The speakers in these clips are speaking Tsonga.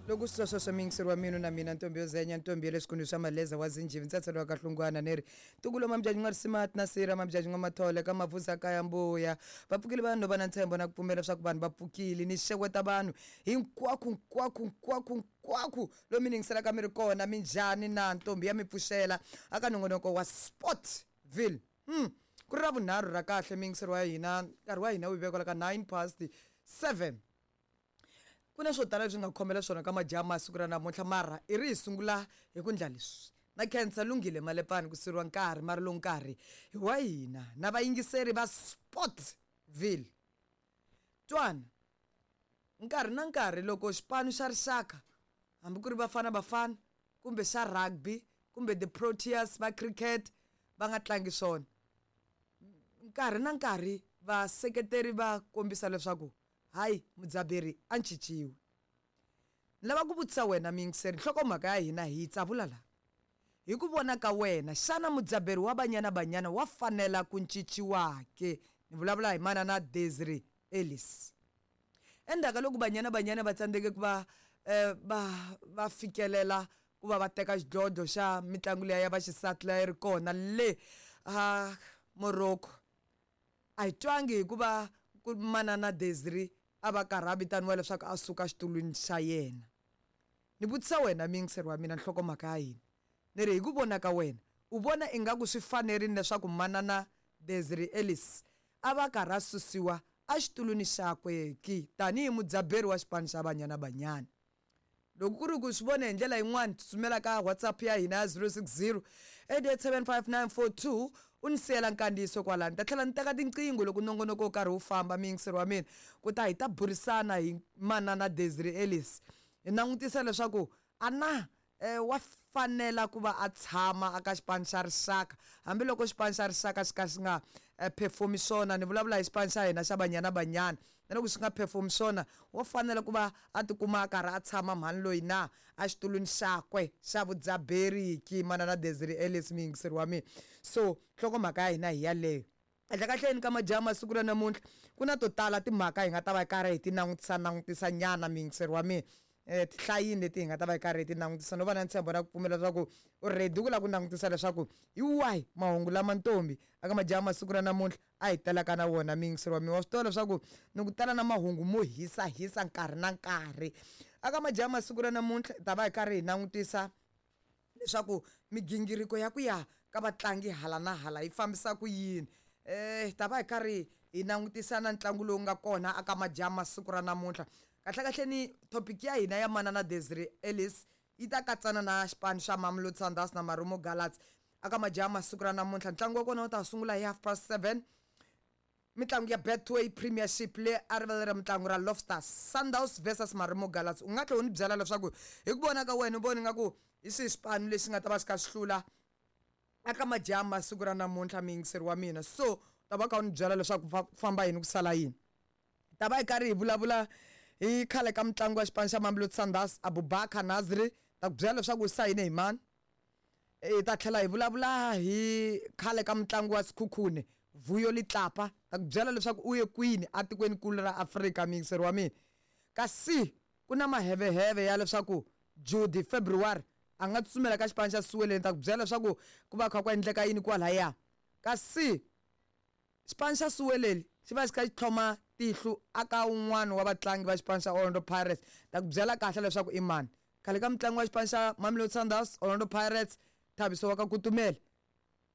Loko swi twa sweswo mi yingiseri wa minu na mina ntombi yo zenya ntombi ya le swikundu swa maleza wa zinjivi ntsatselo wa kahlungwana ni ri ntukulo mamjaji n'wa risimati na sira mamjaji n'wa mathole ka mavusa kaya mbuya va pfukile vanhu va na ntshembo na ku pfumela leswaku vanhu va pfukile ni xeweta vanhu hinkwako nkwako nkwako nkwako lomu mi yingiselaka mi ri kona minjhani na ntombi ya mi pfuxela aka nongonoko wa Sportville. Ku ri ra vunharhu ra kahle miyingiseri wa hina nkarhi wa hina wu vekela ka 9 past 7. Ku na swo tala leswi nga khomela swona ka majaha masiku ra namuntlha mara i ri hi sungula hi ku ndla leswi na khensa lunghile malepani ku siriwa nkarhi mara lowu nkarhi hi wa hina na vayingiseri va Sportville. Twana nkarhi na nkarhi loko xipano xa rixaka hambi ku ri Bafana Bafana kumbe xa rugby kumbe the Proteas va cricket va nga tlangi swona nkarhi na nkarhi vaseketeri va kombisa leswaku hayi mudzaberi a ncinciwi. Ni lava ku vutisa wena muyingiseri nhlokomhaka ya hina hi yi tsavula la. Hi ku vona ka wena xana mudzaberi wa Banyana Banyana wa fanela ku ncinciwa ke? Ni vulavula hi manana Desiree Ellis. Endzhaku ka loko Banyana Banyana va tsandzeke ku va va va fikelela ku va va teka xidlodlo xa mitlangu liya ya vaxisati leyi ri kona le a Morocco a hi twangi hikuva ku manana Desiree a va karhi a vitaniwa leswaku a suka xitulwini xa yena. Ni vutisa wena muyingiseri wa mina nhlokomhaka ya hina ni ri hi ku vona ka wena u vona ingaku swi fanerile leswaku manana Desiree Ellis a va karhi a susiwa exitulwini xakwe ki tanihi mudzaberi wa xipano xa Banyana Banyana. Loko ku ri ku swi vone hi ndlela yin'wana tsutsumela ka WhatsApp ya hina ya 060 8875942 u ni siyela nkandziyiso kwalano. Ni ta tlhela ni teka tinqingho loko nongonoko wu karhi wu famba muyingiseri wa mina ku ta hi ta burisana hi manana Desiree Ellis hi langutisa leswaku a na wa fanela ku va a tshama aka xipano xa rixaka hambiloko xipano xa rixaka xi ka xi nga perform swona ni vulavula hi xipano xa hina xa Banyana Banyana na loko xi nga perform swona wa fanela ku va a tikuma a karhi a tshama mhani loyi na exitulwini xakwe xa vudzaberiki manana Desiree Ellis muyingiseri wa mina so nhlokomhaka ya hina hi yaleyo. Kahlekahleni ka majaha masiku ra namuntlha ku na to tala timhaka hi nga ta va hi karhi hi ti langutisa langutisa nyana muyingiseri wa mina tihlayini leti hi nga ta va hi karhi hi ti langutisa no va na ntshembo na ku pfumela leswaku u ready ku lava ku langutisa leswaku hi wahi mahungu lama ntombi aka majaha masiku ra namuntlha a hi talaka na wona muyingiseri wa mina wa swi tiva leswaku ni ku tala na mahungu mo hisahisa nkarhi na nkarhi aka majaha masiku ra namuntlha hi ta va hi karhi hi langutisa leswaku migingiriko ya ku ya ka vatlangi hala na hala yi fambisa ku yini. Hi ta va hi karhi hi langutisa na ntlangu lowu nga kona aka majaha siku ra namuntlha. Kahlekahle ni topic ya hina ya manana Desiree Ellis yi ta katsana na xipano xa Mamelodi Sundowns na Marumo Gallants aka majaha siku ra namuntlha. Ntlangu wa kona wu ta sungula hi 7:30. Mitlangu ya Betway Premiership le a rivala ra mitlangu ra Loftus Sundowns versus Marumo Gallants. U nga tlhela u ni byela leswaku hi ku vona ka wena u vona ingaku hi swihi xipano lexi nga ta va xi kha xi hlula aka majaha masiku ra namuntlha muyingiseri wa mina so u ta va kha u ni byela leswaku ku famba yini ku sala yini. Hi ta va hi karhi hi vulavula hi khale ka mutlangi wa xipano xa Mamelodi Sundowns Abubakar Nasri ta ku byela leswaku u sayine hi mani. Hi ta tlhela hi vulavula hi khale ka mutlangi wa Sekhukhune Vuyo Litlapa ta ku byela leswaku u ye kwini atikwenikulu ra Afrika muyingiseri wa mina. Kasi ku na maheveheve ya leswaku Judy February a nga tsutsumela ka xipano xa Siweleni ta ku byela leswaku ku va kha ku endleka yini kwalaya. Kasi xipano xa Siweleli xi va xi kha xi tlhoma tihlo aka wun'wana wa vatlangi va xipano xa Orlando Pirates ta ku byela kahle leswaku i mani. Khale ka mutlangi wa xipano xa Mamelodi Sundowns, Orlando Pirates, Thabiso wa ka Kutumela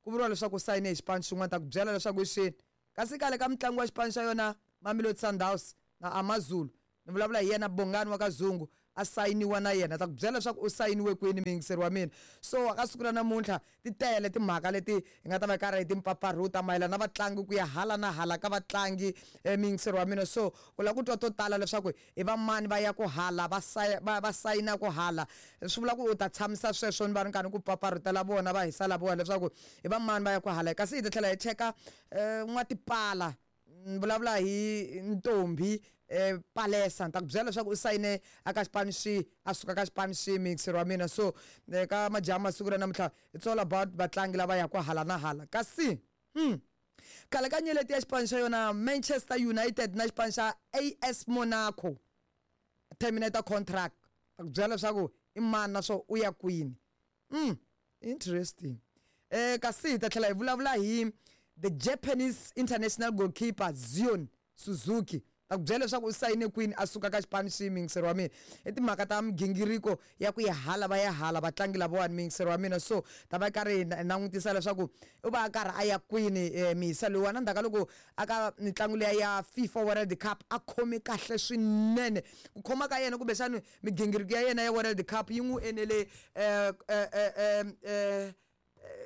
ku vuriwa leswaku u sayine hi xipano xin'wana ta ku byela leswaku i xini. Kasi khale ka mutlangi wa xipano xa yona Mamelodi Sundowns na AmaZulu ni vulavula hi yena Bongani wa ka Zungu a sayiniwa na yena ta ku byela leswaku u sayiniwe kwini muyingiseri wa mina. So ka siku ra namuntlha ti tele timhaka leti hi nga ta va hi karhi hi timpfapfarhuta mayelana na vatlangi ku ya hala na hala ka vatlangi muyingiseri wa mina. So u lava ku twa to tala leswaku i va mani va ya ku hala va va va sayina ku hala swi vula ku u ta tshamisa sweswo ni va ri karhi ku pfapfarhutela vona va hisa lavowa leswaku i va mani va ya ku hala kasi hi ta tlhela hi cheka n'watipala ni vulavula hi ntombi Palesa ni ta ku byela leswaku u sayine aka xipano xihi a suka ka xipano xihi muyingiseri wa mina so ka majaha masiku ra namuntlha it's all about vatlangi lava yaka hala na hala kasi khale ka nyeleti ya xipano xa yona Manchester United na xipano xa AS Monaco terminate contract. Ta ku byela leswaku i mani naswona u ya kwini. Interesting. Kasi hi ta tlhela hi vulavula hi the Japanese international goalkeeper Zion Suzuki. Ta ku byela leswaku u sayine kwini a suka ka xipano xi, muyingiseri wa mina. I timhaka ta migingiriko ya ku ya hala va ya hala vatlangi lavawani, muyingiseri wa mina. So ta va karhi hi langutisa leswaku u va a karhi a ya kwini mihisa loyiwani endzhaku ka loko a ka mitlangu liya ya FIFA World Cup a khome kahle swinene. Ku khoma ka yena kumbexani migingiriko ya yena ya World Cup yi n'wi enele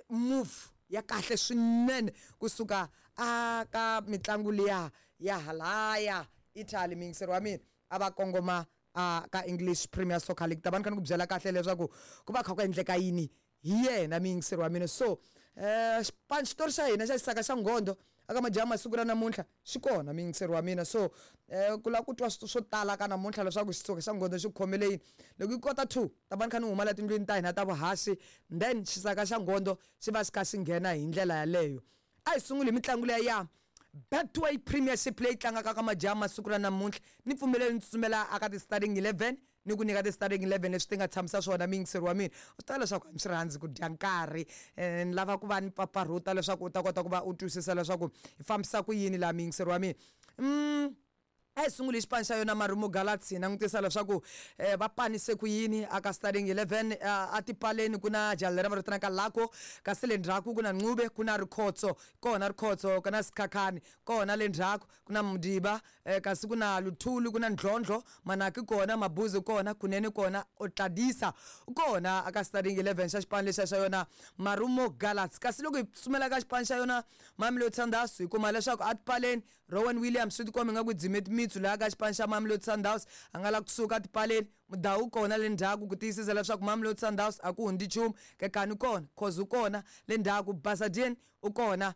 move ya kahle swinene kusuka a ka mitlangu liya ya halaya Italy, muyingiseri wa mina, a va kongoma a ka English Premier Soccer League. Ta va ni kha ni ku byela kahle leswaku ku va kha ku endleka yini hi yena, muyingiseri wa mina. So xipano xitori xa hina xa xisaka xa nghondo aka majaha masiku ra namuntlha xi kona, muyingiseri wa mina. So ku lava ku twa swo tala ka namuntlha leswaku xitsoka xa nghondo xi khomele yini, loko yi kota 2 ta va ni kha ni huma la tindlwini ta hina ta vuhaxi, then xisaka xa nghondo xi va xi kha xi nghena hi ndlela yaleyo. A hi sunguli hi mitlangu liya ya Betway Premiership leyi tlangaka ka majaha masiku ra namuntlha. Ni pfumeleli ni tsutsumela aka ti-starting 11 ni ku nyika ti-starting 11 leswi ti nga tshamisa swona, muyingiseri wa mina. U swi tiva leswaku a ni swi rhandzi ku dya nkarhi, ni lava ku va ni pfapfarhuta leswaku u ta kota ku va u twisisa leswaku hi fambisa ku yini laha, muyingiseri wa mina. A hi sunguli hi xipano xa yona Marumo Gallants, hi langutisa leswaku va panise ku yini aka starting 11. A tipaleni ku na jaha leri va vitanaka Lako, kasi le ndzhaku ku na Ncube, ku na Rikhotso kona, Rikhotso ku na Sikhakhane kona, le ndzhaku ku na Mdiba, kasi ku na Luthuli, ku na Ndlondlo, Manaki kona, Mabuzi kona, Kunene kona, Otladisa kona aka starting 11 xa xipano lexiya xa yona Marumo Gallants. Kasi loko hi tsutsumela ka xipano xa yona Mamelodi Sundowns, hi kuma leswaku a tipaleni Rowan Williams swi tikomba ingaku dzime timitsu laha ka xipano xa Mamelodi Sundowns, a nga la kusuka tipaleni. Mudau kona le ndzhaku ku tiyisisa leswaku Mamelodi Sundowns a ku hundzi nchumu. Kekani kona, Khoza u kona le ndzhaku, Basadien u kona,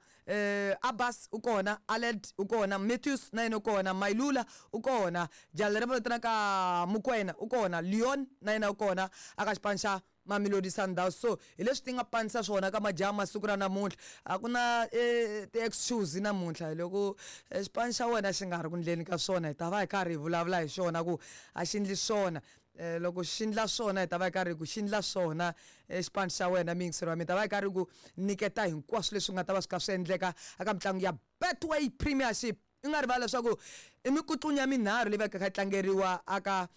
Abbas u kona, Aled u kona, Matthews na yena u kona, Mailula u kona, jaha leri va vitanaka Mokoena u kona, Leon na yena u kona aka xipano xa Mamelodi Sundowns. So hi leswi ti nga panisa swona ka majaha masiku ra namuntlha. A ku na ti-excuse namuntlha, loko xipano xa wena xi nga ri ku ndleni ka swona hi ta va hi karhi hi vulavula hi xona ku a xi ndli swona. Loko xi ndla swona hi ta va hi karhi ku xi ndla swona xipano xa wena, muyingiseri wa mina. Ta va hi karhi ku nyiketa hinkwaswo leswi nga ta va swi kha swi endleka eka mitlangu ya Betway Premiership. I nga rivala leswaku i mikutlunya minharhu leyi va kha yi tlangeriwa aka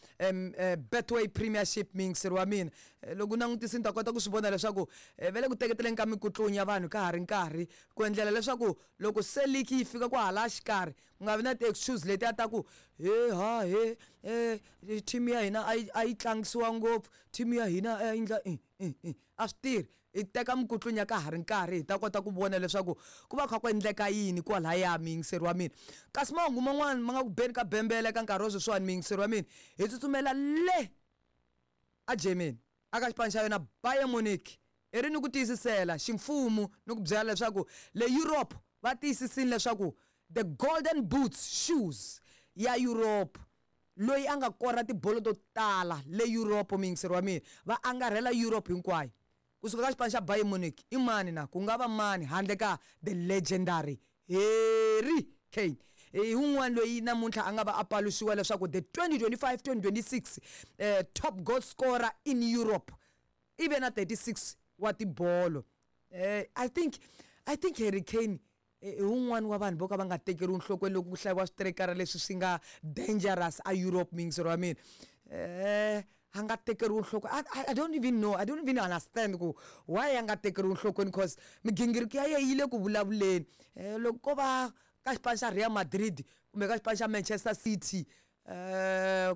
Betway Premiership, muyingiseri wa mina. Loko u langutisini ta kota ku swi vona leswaku va le ku teketeleni ka mikutlunya vanhu ka ha ri nkarhi, ku endlela leswaku loko se league yi fika kwahala xikarhi ku nga vi na ti-excuse letiya ta ku he ha he team ya hina a yi tlangisiwa ngopfu, team ya hina a yi endla a swi tirhi. Hi teka mikutlunya ka ha ri nkarhi hi ta kota ku vona leswaku ku va kha ku endleka yini kwalaya, muyingiseri wa mina. Kasi mahungu man'wana ma nga ku beni ka bembele ka nkarhi wa sweswiwani, muyingiseri wa mina, hi tsutsumela le a Germany aka xipano xa yona Bayern Munich. I ri ni ku tiyisisela ximfumo ni ku byela leswaku le Europe va tiyisisile leswaku the golden boots shoes ya Europe, loyi a nga kora tibolo to tala le Europe, muyingiseri wa mina, va angarhela Europe hinkwayo kusuka ka xipano xa Bayern Munich i mani na ku nga va mani handle ka the legendary Harry Kane. Hi wun'wana loyi namuntlha a nga va a paluxiwa leswaku the 2025-2026 top goal scorer in Europe i ve na 36 wa tibolo. I think Harry Kane i wun'wani wa vanhu vo ka va nga tekeriwi nhlokweni loko ku hlayiwa switerekara leswi swi nga dangerous a Europe, muyingiseri wa mina. A nga tekeriwi nhlokweni. I don't even know, I don't even understand ku why a nga tekeriwi nhlokweni, cause migingiriko ya yena yi le ku vulavuleni. Loko ko va ka xipano xa Real Madrid kumbe ka xipano xa Manchester City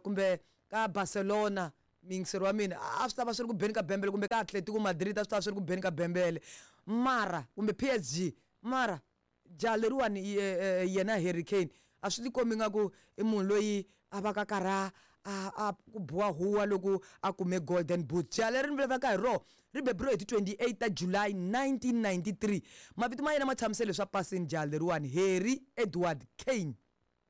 kumbe ka Barcelona, muyingiseri wa mina, a swi ta va swi ri ku beni ka bembele, kumbe ka Atletico Madrid a swi ta va swi ri ku beni ka bembele, mara kumbe PSG. Mara jaha leriwani yena Harry Kane a swi tikombi nga ku i munhu loyi a va ka karhi a ku biwa huwa loko a kume golden boot. Jaha leri ni vulavulaka hi rona ri beburiwe hi ti 28 ta July 1993. Mavito ma yena ma tshamisele swa pasini, jaha leriwani Harry Edward Kane.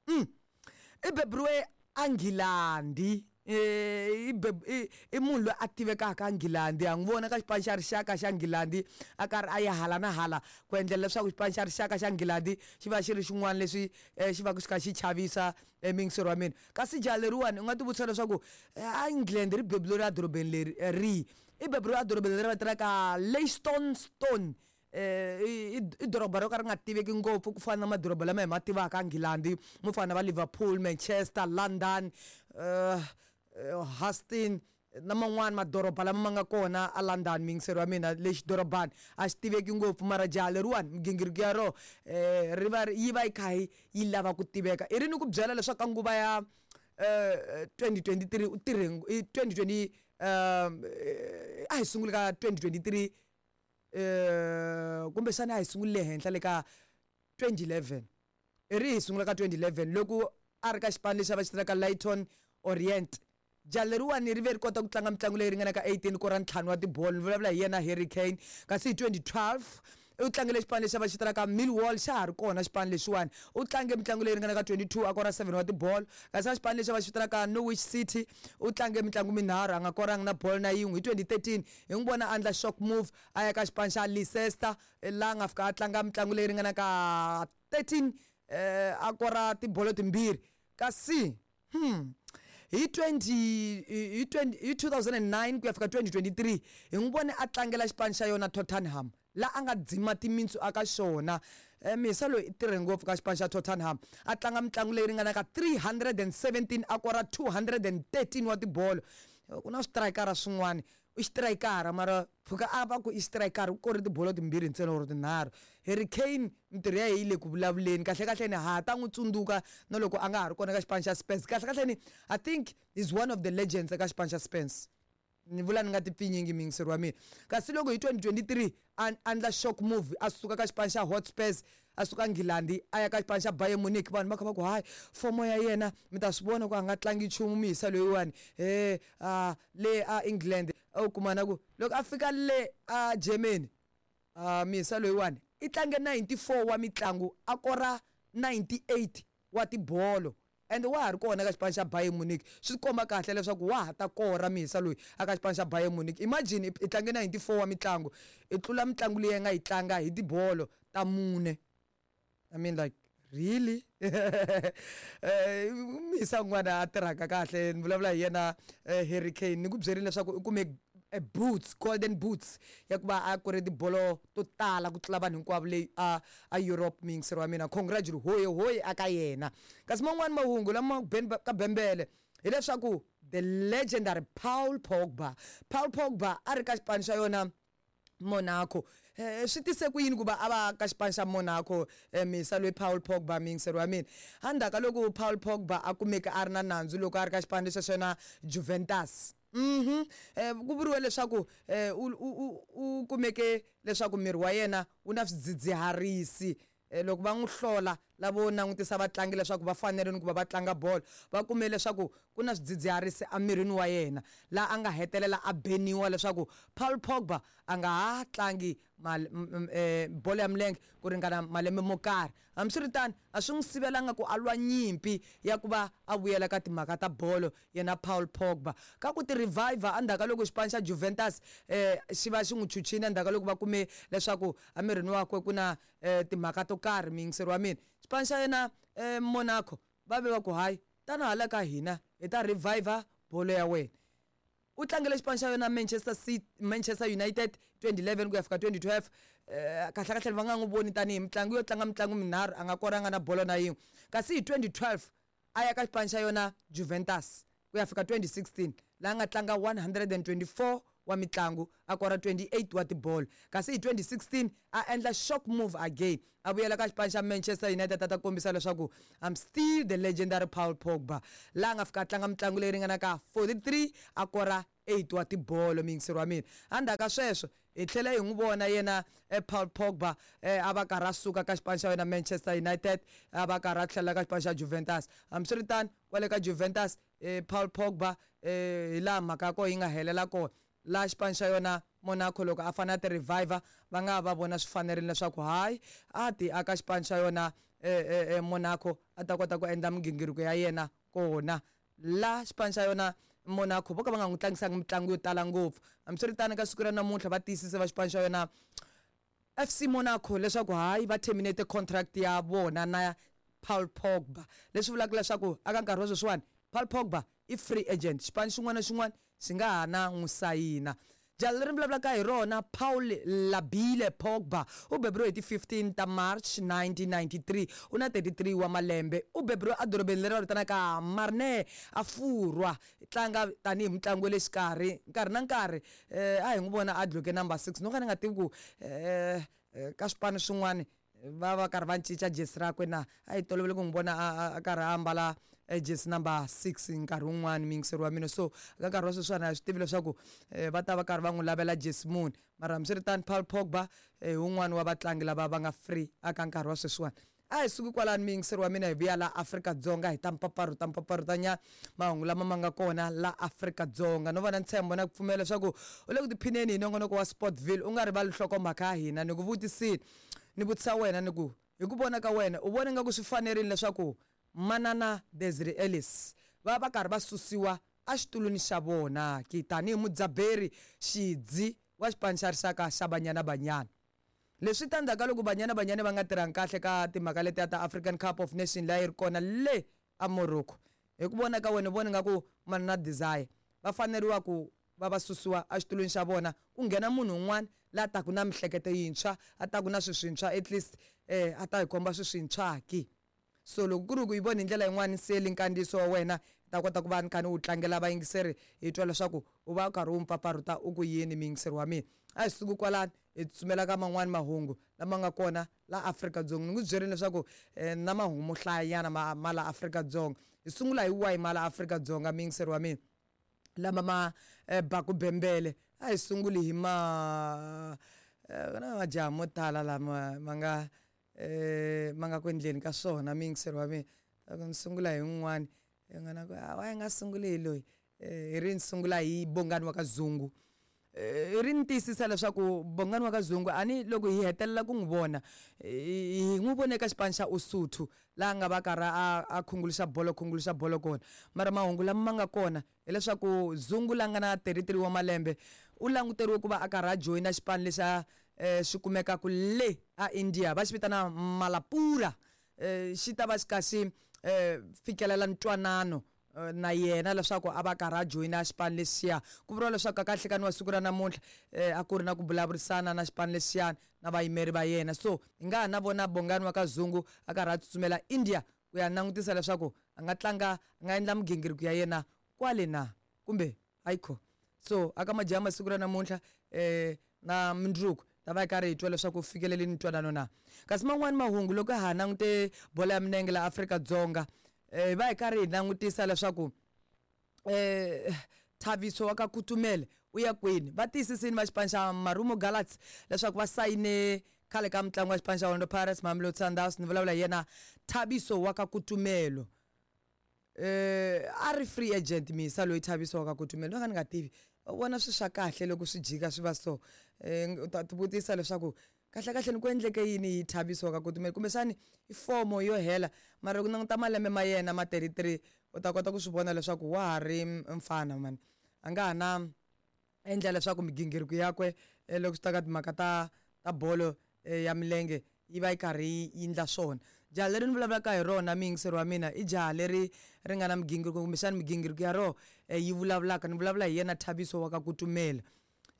I beburiwe eNgilandi. I munhu loyi a tivekaka a Nghilandi, ha n'wi vona ka xipano xa rixaka xa Nghilandi a karhi a ya hala na hala ku endlela leswaku xipano xa rixaka xa Nghilandi xi va xi ri xin'wana leswi xi va xi kha xi chavisa muyingiseri wa mina. Kasi jaha leriwani u nga tivutisa leswaku a England ri beburiwe edorobeni leri rihi? I beburiwe edorobeni leri va vitanaka Leytonstone. I doroba ro ka ri nga tiveki ngopfu ku fana na madoroba lama hi ma tivaka Nghilandi mo fana na va Liverpool, Manchester, London, Huston na man'wani madoroba lama ma nga kona a London muyingiseri wa mina. Lexi dorobani a xi tiveki ngopfu mara jaha leriwani migingiriko ya rona ri va yi va yi kha yi lava ku tiveka. I ri ni ku byela leswaku ka nguva ya 2023 u tirhe i 2020 a hi sunguli ka 2023 kumbexana a hi sunguli le henhla le ka 2011 i ri hi sungula ka 2011 loko a ri ka xipano lexi a va xi vitanaka Leyton Orient. Jaha leriwani ri ve ri kota ku tlanga mitlangu leyi ringanaka 18 kora ntlhanu wa tibolo ni vulavula hi yena Harry Kane. Kasi hi 2012 u tlangele xipano lexi a va xi vitanaka Millwall xa ha ri kona xipano lexiwani u tlange mitlangu leyi ringanaka 22 a kora 7 wa tibolo. Kasi a xipano lexi a va xi vitanaka Norwich City u tlange mitlangu minharhu a nga koranga na bolo na yin'we. Hi 2013 hi n'wi vona a endla shock move a ya ka xipano xa Leicester laha a nga fika a tlanga mitlangu leyi ringanaka 13 a kora tibolo timbirhi. Kasi hi 20 hi 20 hi 2009 ku ya fika 2023 hi n'wi vone a tlangela xipano xa yona Tottenham laha a nga dzima timintsu aka xona. Misa loyi i tirhe ngopfu ka xipano xa Tottenham a tlanga mitlangu leyi ringanaka 317 a kora 213 wa tibolo. Ku na switirayikara swin'wana i xitirayikara mara pfuka a va ku i xitirayikara u kore tibolo timbirhi ntsena or tinharhu. Harry Kane mintirho ya yena yi le ku vulavuleni kahlekahle ni ha ta n'wi tsundzuka na loko a nga ha ri kona ka xipano xa Spurs. Kahlekahle ni I think he's one of the legends eka xipano xa Spurs. Ni vula ni nga ti pfinyingi muyingiseri wa mina. Kasi loko hi 2023 a endla shock move a suka ka xipano xa Hotspurs a suka Nghilandi a ya ka xipano xa Bayern Munich vanhu va kha va ku hayi fomo ya yena mi ta swi vona ku a nga tlangi nchumu muyisa loyiwani a le a England u kuma na ku loko a fika le a Germany muyisa loyiwani i tlange 94 wa mitlangu a kora 98 wa tibolo and wa ha ri kona ka xipano xa Bayern Munich. Swi komba kahle leswaku wa ha ta kora muyisa loyi aka xipano xa Bayern Munich. Imagine i tlange 94 wa mitlangu i tlula mitlangu leyi a nga yi tlanga hi tibolo ta mune. I mean like really muyisa un'wana a tirhaka kahle ni vulavula hi yena Harry Kane. Ni ku byerile leswaku u kume boots, golden boots ya ku va a kore tibolo to tala ku tlula vanhu hinkwavo leyi a Europe muyingiseri wa mina. Congratulations hoye hoye aka yena. Kasi man'wani mahungu lama ka bembele hileswaku the legendary Paul Pogba. Paul Pogba a ri ka xipano xa yona Monaco. Swi tise ku yini ku va a va ka xipano xa Monaco misa loyi Paul Pogba muyingiseri wa mina? Endzhaku ka loko Paul Pogba a kumeke a ri na nandzu loko a ri ka xipano lexi xa yona Juventus. Ku vuriwe leswaku u kumeke leswaku miri wa yena wu na swidzidziharisi. Loko va n'wi hlola lavo langutisa vatlangi leswaku va fanerile ku va va tlanga bolo va kume leswaku ku na swidzidziharisi emirini wa yena laha a nga hetelela a beniwa leswaku Paul Pogba a nga ha tlangi bolo ya milenge ku ringana malembe mo karhi. Hambiswiritano a swi n'wi sivelanga ku a lwa nyimpi ya ku va a vuyela ka timhaka ta bolo yena Paul Pogba. Ka ku ti reviver endzhaku ka loko xipano xa Juventus xi va xi n'wi chuchile endzhaku ka loko va kume leswaku emirini wakwe ku na timhaka to karhi muyingiseri wa mina. Xipano xa yena Monaco va ve va ku hayi tana hala ka hina hi ta reviver bolo ya wena. U tlangele xipano xa yona Manchester City, Manchester United 2011 ku ya fika 2012. Kahlekahle va nga n'wi voni tanihi mutlangi yo tlanga mitlangu minharhu a nga koranga na bolo na yin'we. Kasi hi 2012 a ya ka xipano xa yona Juventus ku ya fika 2016 laha nga tlanga 124 wa mitlangu a kora 28 wa tibolo. Kasi hi 2016 a endla shock move again a vuyela ka xipano xa Manchester United a ta kombisa leswaku I'm still the legendary Paul Pogba laha nga fika a tlanga mitlangu leyi ringanaka 43 a kora 8 wa tibolo muyingiseri wa mina. Endzhaku ka sweswo hi tlhela hi n'wi vona yena Paul Pogba a va karhi a suka ka xipano xa yena Manchester United a va karhi a tlhelela ka xipano xa Juventus. Hambiswiritano kwale ka Juventus Paul Pogba hi laha mhaka ya kona yi nga helela kona laha xipano xa yona Monaco loko a fanele a ti reviver va nga va vona swi fanerile leswaku hayi a ti aka xipano xa yona Monaco a ta kota ku endla migingiriko ya yena kona. La xipano xa yona Monaco vo ka va nga n'wi tlangisanga mitlangu yo tala ngopfu. Hambiswiritano ka siku ra namuntlha va tiyisise va xipano xa yona FC Monaco leswaku hayi va terminate contract ya vona na Paul Pogba, leswi vulaka leswaku aka nkarhi wa sweswiwani Paul Pogba i free agent, xipano xin'wana na xin'wana xi nga ha na n'wi sayina. Jaha leri ni vulavulaka hi rona, Paul Labile Pogba, u beburiwe hi ti 15 ta March 1993, u na 33 wa malembe. U beburiwe edorobeni leri va vitanaka Marne a Furwa. Tlanga tanihi mutlangi wa le xikarhi, nkarhi na nkarhi a hi n'wi vona a dloke number 6. No ka ni nga tivi ku ka swipano swin'wana va va karhi va cinca jesi rakwe na. A hi tolovele ku n'wi vona a karhi a ambala jesi number 6 nkarhi wun'wani, muyingiseri wa mina. So ka nkarhi wa sweswiwani a hi swi tivi leswaku va ta va karhi va n'wi lavela jesi muni. Mara hambiswiritano Paul Pogba hi wun'wani wa vatlangi lava va nga free aka nkarhi wa sweswiwani. A hi suki kwalano muyingiseri wa mina hi vuya la Afrika-Dzonga hi ta mpfapfarhuta mpfapfarhutanyana mahungu lama ma nga kona la Afrika-Dzonga. No va na ntshembo na ku pfumela leswaku u le ku tiphineni hi nongonoko wa Sportville. U nga rivali nhlokomhaka ya hina. Ni ku vutisile, ni vutisa wena ni ku, hi ku vona ka wena u vona ingaku swi fanerile leswaku Manana Desiree Ellis va va karhi va susiwa exitulwini xa vona ki tanihi mudzaberi xidzi wa xipano xa rixaka xa Banyana Banyana? Leswi ta ndzhaku ka loko Banyana Banyana va nga tirhangi kahle ka timhaka letiya ta African Cup of Nation leyi a yi ri kona le a Morocco. Hi ku vona ka wena u vona ingaku Manana Desire va faneriwa ku va va susiwa exitulwini xa vona ku nghena munhu un'wana la taku na mihleketo yintshwa, a taku na swilo swintshwa at least a ta hi komba swilo swintshwa ki? So loko ku ri ku yi vona hi ndlela yin'wana seli nkandziyiso wa wena hi ta kota ku va ni kha ni wu tlangela vayingiseri hi twa leswaku u va u karhi u mpfapfarhuta u ku yini muyingiseri wa mina. A hi suki kwalano hi tsutsumela ka man'wani mahungu lama nga kona la Afrika-Dzonga. Ni n'wi byerile leswaku na mahungu mo hlayanyana ma ma la Afrika-Dzonga. Hi sungula hi wahi ma la Afrika-Dzonga muyingiseri wa mina lama ma baku bembele? A hi sunguli hi ma ku na majaha mo tala lama ma nga ma nga ku endleni ka swona muyingiseri wa mina. Loko ni sungula hi un'wani i nga na ku why nga sunguli hi loyi hi ri ni sungula hi Bongani wa ka Zungu. Hi ri ni tiyisisa leswaku Bongani wa ka Zungu a ni loko hi hetelela ku n'wi vona hi n'wi vone eka xipano xa Usuthu laha a nga va karhi a khunguluxa bolo khunguluxa bolo kona. Mara mahungu lama ma nga kona hileswaku Zungu la nga na 33 wa malembe u languteriwe ku va a karhi a joyina xipano lexi a xi kumekaka le a India va xi vitana Malapura. Xi ta va xi kha xi fikelela ntwanano na yena leswaku a va karhi a joyina xipano lexiya. Ku vuriwa leswaku ka nhlikani wa siku ra namuntlha a ku ri na ku vulavurisana na xipano lexiyani na vayimeri va yena. So hi nga ha na vona Bongani wa ka Zungu a karhi a tsutsumela India ku ya langutisa leswaku a nga tlanga a nga endla migingiriko ya yena kwale na kumbe hayikho. So aka majaha masiku ra namuntlha na mundzuku ta va hi karhi hi twa leswaku u fikelelini ntwanano na. Kasi man'wani mahungu loko ha langute bolo ya milenge la Afrika-Dzonga hi va hi karhi hi langutisa leswaku Thabiso wa ka Kutumele u ya kwini. Va tiyisisini va xipano xa Marumo Gallants leswaku va sayine khale ka mutlangi wa xipano xa Orlando Pirates Mamelodi Sundowns ni vulavula hi yena Thabiso wa ka Kutumelo. A ri free agent misa loyi Thabiso wa ka Kutumelo no ka ni nga tivi u vona swi swa kahle loko swi jika swi va so. U ta ti vutisa leswaku kahle kahle ni ku endleke yini hi Thabiso wa ka Kutumelo kumbexani i fomo yo hela mara loko languta malembe ma yena ma 33 u ta kota ku swi vona leswaku wa ha ri mfana mani a nga ha na endla leswaku migingiriko yakwe loko swi ta ka timhaka ta ta bolo ya milenge yi va yi karhi yi endla swona. Jaha leri ni vulavulaka hi rona muyingiseri wa mina i jaha leri ri nga na migingiriko kumbexana migingiriko ya rona yi vulavulaka ni vulavula hi yena Thabiso wa ka Kutumela.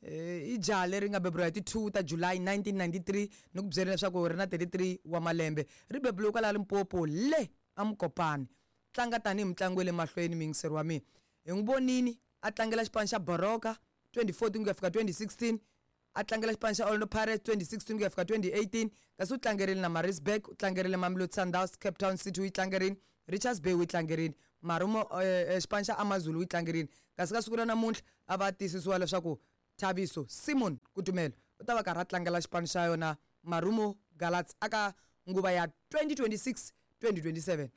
I jaha leri nga beburiwa hi ti 2 ta July 1993 ni ku byela leswaku ri na 33 wa malembe ri beburiwe kwala Limpopo le a Mokopane. Tlanga tanihi mutlangi wa le mahlweni muyingiseri wa mina. Hi n'wi vonini a tlangela xipano xa Baroka 2014 ku ya fika 2016 a tlangela xipano xa Orlando Pirates 2016 ku ya fika 2018 kasi u tlangerile na Maritzburg u tlangerile Mamelodi Sundowns Cape Town City u yi tlangerile Richards Bay u yi tlangerile Marumo xipano xa AmaZulu u yi tlangerile kasi ka siku ra namuntlha a va tiyisisiwa leswaku Thabiso Simon Kutumelo u ta va karhi a tlangela xipano xa yona Marumo Gallants aka nguva ya 2026 2027.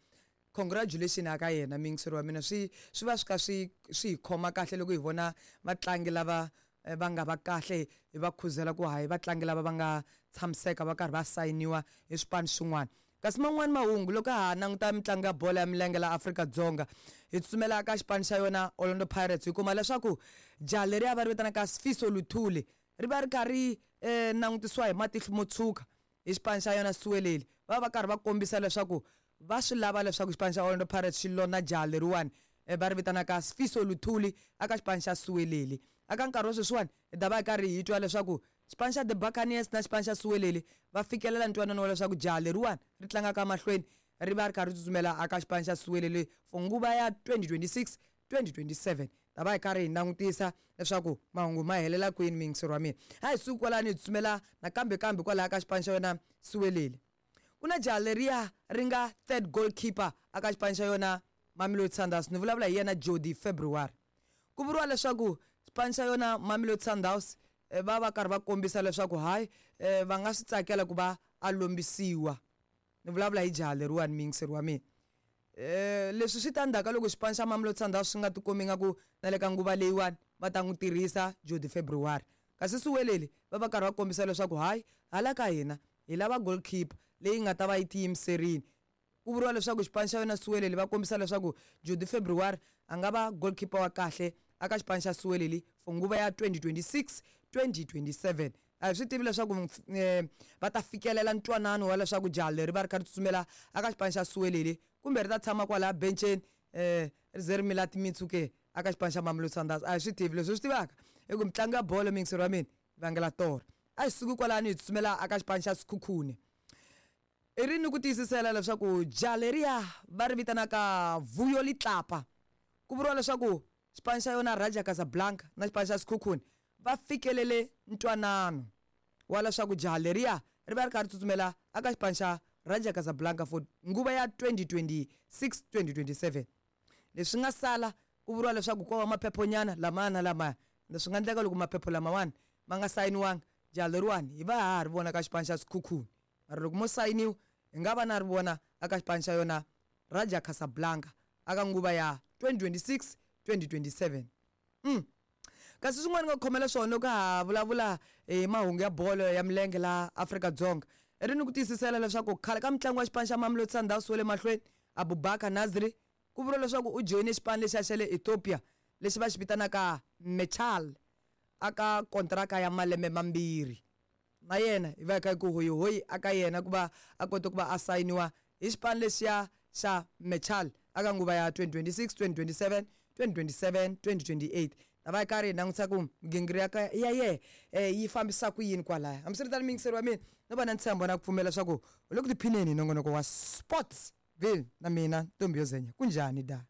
Congratulation aka yena muyingiseri wa mina swi swi va swi kha swi swi hi khoma kahle loko hi vona vatlangi lava va nga va kahle hi va khuzela ku hayi vatlangi lava va nga tshamiseka va karhi va sayiniwa hi swipano swin'wana. Kasi man'wani mahungu loko ha ha languta mitlangu ya bolo ya milenge la Afrika-Dzonga hi tsutsumela ka xipano xa yona Orlando Pirates hi kuma leswaku jaha leriya va ri vitanaka Sifiso Luthuli ri va ri kha ri langutisiwa hi matihlo mo tshuka hi xipano xa yona Siweleli. Va va karhi va kombisa leswaku va swi lava leswaku xipano xa Orlando Pirates xi lona jaha leriwani va ri vitanaka Sifiso Luthuli aka xipano xa Siweleli. Aka nkarhi wa sweswiwani hi ta va hi karhi hi twa leswaku xipano xa The Buccaneers na xipano xa Siweleli va fikelela ntwanano wa leswaku jaha leriwani ri tlangaka mahlweni ri va ri kha ri tsutsumela aka xipano xa Siweleli for nguva ya 2026 2027. Ta va hi karhi hi langutisa leswaku mahungu ma helela kwini muyingiseri wa mina. A hi suki kwalano hi tsutsumela nakambe kambe kwalaya ka xipano xa yona Siweleli. Ku na jaha leriya ri nga third goalkeeper aka xipano xa yona Mamelodi Sundowns, ni vulavula hi yena Jody February. Ku vuriwa leswaku xipano xa yona Mamelodi Sundowns va va karhi va kombisa leswaku hayi va nga swi tsakela ku va a lombisiwa. Ni vulavula hi jaha leriwani muyingiseri wa mina. Leswi swi ta ndzhaku ka loko xipano xa Mamelodi Sundowns swi nga tikomi ingaku na le ka nguva leyiwani va ta n'wi tirhisa Jody February. Kasi Siweleli va va karhi va kombisa leswaku hayi hala ka hina hi lava goalkeeper leyi nga ta va yi tiyimiserile. Ku vuriwa leswaku xipano xa yona Siweleli va kombisa leswaku Jody February a nga va goalkeeper wa kahle aka xipano xa Siweleli for nguva ya 2026 2027. A hi swi tivi leswaku va ta fikelela ntwanano wa leswaku jaha leri va ri kha ri tsutsumela aka xipano xa Siweleli kumbe ri ta tshama kwalaya benceni ri ze ri mila timitsu ke aka xipano xa Mamelodi Sundowns. A hi swi tivi. Leswi hi swi tivaka i ku mitlangu ya bolo muyingiseri wa mina yi vangela torha. A hi suki kwalano hi tsutsumela aka xipano xa Sekhukhune. I ri ni ku tiyisisela leswaku jaha leriya va ri vitanaka Vuyo Litlapa ku vuriwa leswaku xipano xa yona Raja Casablanca na xipano xa Sekhukhune va fikelele ntwanano wa leswaku jaha leriya ri va ri kha ri tsutsumela aka xipano xa Raja Casablanca for nguva ya 2026 2027. Leswi nga sala ku vuriwa leswaku ko va maphephonyana lamaya na lamaya. Ende swi nga endleka loko maphepho lamawani ma nga sayiniwanga jaha leriwani hi va ha ha ri vona ka xipano xa Sekhukhune. Mara loko mo sayiniwa hi nga va na ri vona aka xipano xa yona Raja Casablanca aka nguva ya 2026 2027. Kasi swin'wana nga khomela swona loko ha vulavula hi mahungu ya bolo ya milenge la Afrika-Dzonga i ri ni ku tiyisisela leswaku khale ka mutlangi wa xipano xa Mamelodi Sundowns wa le mahlweni Abubakar Nasri ku vuriwa leswaku u joyine xipano lexiya xa le Ethiopia lexi va xi vitanaka Mechal aka kontraka ya malembe mambirhi. Na yena hi va hi kha hi ku hoyihoyi aka yena ku va a kote ku va a sayiniwa hi xipano lexiya xa Mechal aka nguva ya 2026 2027 2027 2028. Ta va hi karhi hi langutisa ku migingiriko ya yehe yi fambisa ku yini kwalaya. Hambiswiritano muyingiseri wa mina no va na ntshembo na ku pfumela leswaku u le ku tiphineni hi nongonoko wa Sportsville na mina Ntombi yo Zenya. Kunjhani da?